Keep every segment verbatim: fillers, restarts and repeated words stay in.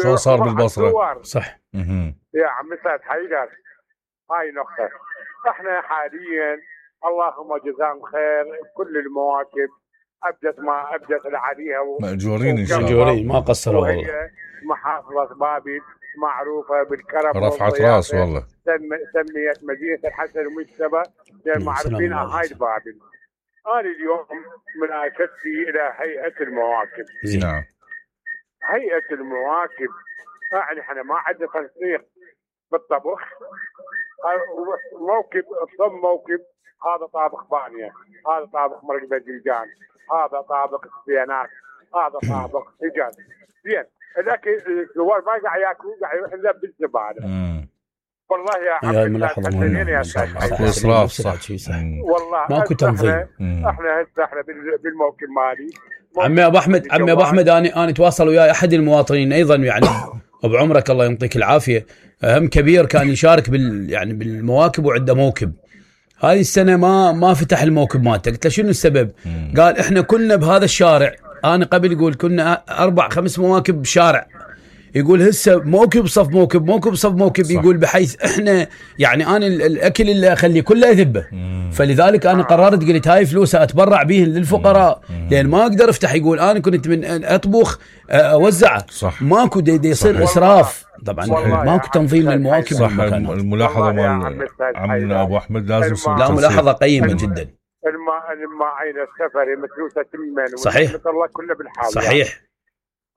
شو صار بالبصرة؟ صح. يا عمي سعد حيدر، هاي نقطة. احنا حاليا اللهم جزاهم خير كل المواكب ابدت ما ابدت عليها و... مأجورين ان شاء الله، مأجورين ما قصروا والله. وهي محافظة بابل معروفة بالكرم، رفعت راس والله. سميت مدينة الحسن المجتبى معروفين هاي بابل. انا اليوم مناشدتي الى هيئة المواكب. نعم. هيئة المواكب يعني احنا ما عندنا تنسيق بالطبخ. موكب الصم موكب هذا طابخ بانية، هذا طابخ مرق باذنجان، هذا طابخ سبيانات، هذا طابخ سجن. زين الاكل الزوار ما قاعد ياكلوا، قاعد يروح يذب بالزباله. والله يا عمي هي ملاحظه مهمه. اكو اسراف صح. والله ماكو تنظيم. احنا هسه احنا بالموكب مالي. عمي ابو احمد عمي ابو احمد انا انا اتواصل وياي احد المواطنين ايضا يعني بعمرك الله يعطيك العافيه، هم كبير كان يشارك بال يعني بالمواكب وعنده موكب. هذه السنه ما ما فتح الموكب مالته، قلت له شنو السبب؟ مم. قال احنا كلنا بهذا الشارع، انا قبل يقول كنا اربع خمس مواكب بشارع، يقول هسه موكب صف موكب موكب صف موكب. صح. يقول بحيث احنا يعني انا الاكل اللي اخليه كله يذبه، فلذلك انا قررت قلت هاي فلوسها اتبرع به للفقراء، مم. لان ما اقدر افتح يقول انا كنت من اطبخ اوزعه. صح. ماكو دي يصير اسراف طبعا، ماكو تنظيم للمواكب. صح. الملاحظه مال عمنا ابو احمد لازم لا ملاحظه قيمه الم... جدا. الماء الماعين السفري متروسه تمن صحيح الله كله بالحال. صحيح.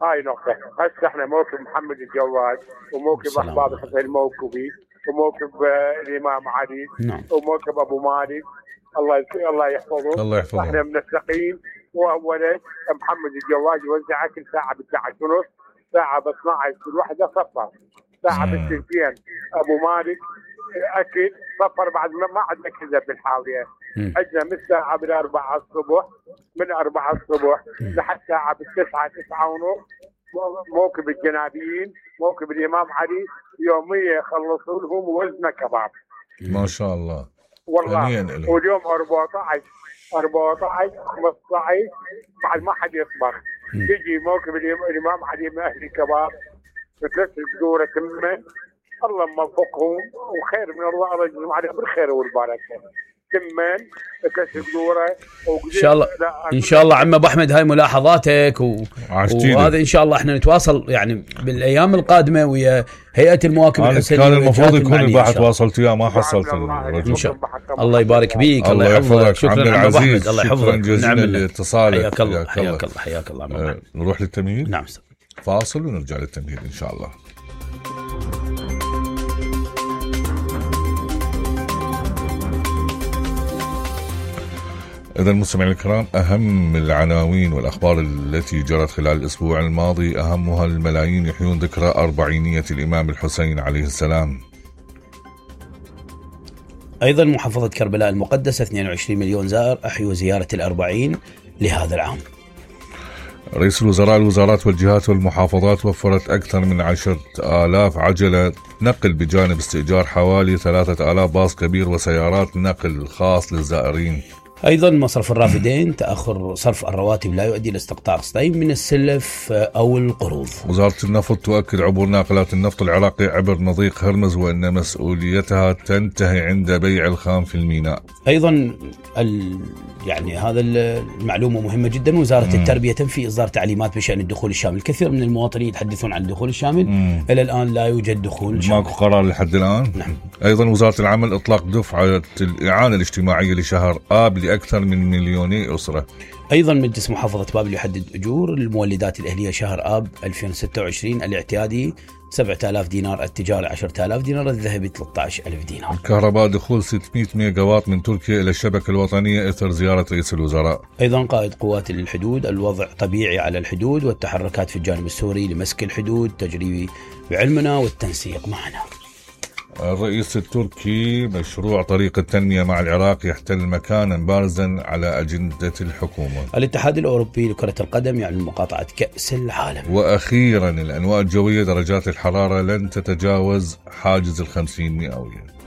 هاي نقطة. هسه احنا موكب محمد الجواد وموكب احباب الحسين الموكبي وموكب آه الامام علي. نعم. وموكب ابو مالك الله الله يحفظه. الله يحفظه. احنا منسقين. واولا محمد الجواد يوزع كل ساعة ب اثنعش ونص، ساعة ب اثنعش كل واحدة صفر، ساعة بالسنتين ابو مالك اكل صفر بعد ما عندنا كذا بالحاوية. عندنا من الساعة بالأربعة الصبح من أربعة الصبح لحد ساعة بالتسعة تسعة ونص موكب الجنابيين موكب الإمام علي يوميا يخلصوا لهم وزنة كباب. ما شاء الله والله. واليوم أربعة عشر خمسة عشر بعد ما حد يصبر تجي موكب الإمام علي من أهل الكباب بثلاث قدورة تمة. الله موفقهم وخير من الله، الله يجزيهم عليهم بالخير والبركة. تمن كسر دوره ان شاء الله. ان شاء الله عم ابو احمد هاي ملاحظاتك و... وهذا ان شاء الله احنا نتواصل يعني بالايام القادمه ويا هيئه المواكب الحسينيه. كان المفروض يكون الباحث تواصلت وياه ما حصلت الرجل. ان شاء الله. الله يبارك بيك، الله يحفظك. شكرا عبد العزيز، الله يحفظك. جزيلا لاتصالك. حياك الله حياك الله حياك الله. أه نروح للتمهيد. نعم فاصل ونرجع للتمهيد ان شاء الله. إذا المستمعين الكرام، أهم العناوين والأخبار التي جرت خلال الأسبوع الماضي أهمها الملايين يحيون ذكرى أربعينية الإمام الحسين عليه السلام. أيضا محافظة كربلاء المقدسة اثنين وعشرين مليون زائر أحيوا زيارة الأربعين لهذا العام. رئيس الوزراء الوزارات والجهات والمحافظات وفرت أكثر من عشرة آلاف عجلة نقل بجانب استئجار حوالي ثلاثة آلاف باص كبير وسيارات نقل خاص للزائرين. أيضا مصرف الرافدين تأخر صرف الرواتب لا يؤدي لاستقطاع قسطين من السلف أو القروض. وزارة النفط تؤكد عبور ناقلات النفط العراقي عبر مضيق هرمز وأن مسؤوليتها تنتهي عند بيع الخام في الميناء. أيضا ال... يعني هذا المعلومة مهمة جدا. وزارة مم. التربية تنفي إصدار تعليمات بشأن الدخول الشامل. الكثير من المواطنين يتحدثون عن الدخول الشامل. مم. إلى الآن لا يوجد دخول شامل. ماكو قرار لحد الآن. نعم. أيضا وزارة العمل إطلاق دفعة الإعانة الاجتماعية لشهر آب لأكثر من مليوني أسرة. أيضا مجلس محافظة بابل يحدد أجور المولدات الأهلية شهر آب ألفين وستة وعشرين. الاعتيادي سبعة آلاف دينار، التجاري عشرة آلاف دينار، الذهبي ثلاثة عشر ألف دينار. الكهرباء دخول ستمائة ميجا واط من تركيا إلى الشبكة الوطنية إثر زيارة رئيس الوزراء. أيضا قائد قوات الحدود الوضع طبيعي على الحدود والتحركات في الجانب السوري لمسك الحدود تجري بعلمنا والتنسيق معنا. الرئيس التركي مشروع طريق التنمية مع العراق يحتل مكانا بارزا على أجندة الحكومة. الاتحاد الأوروبي لكرة القدم يعلن مقاطعة كأس العالم. وأخيرا الأنواع الجوية درجات الحرارة لن تتجاوز حاجز الخمسين مئوية.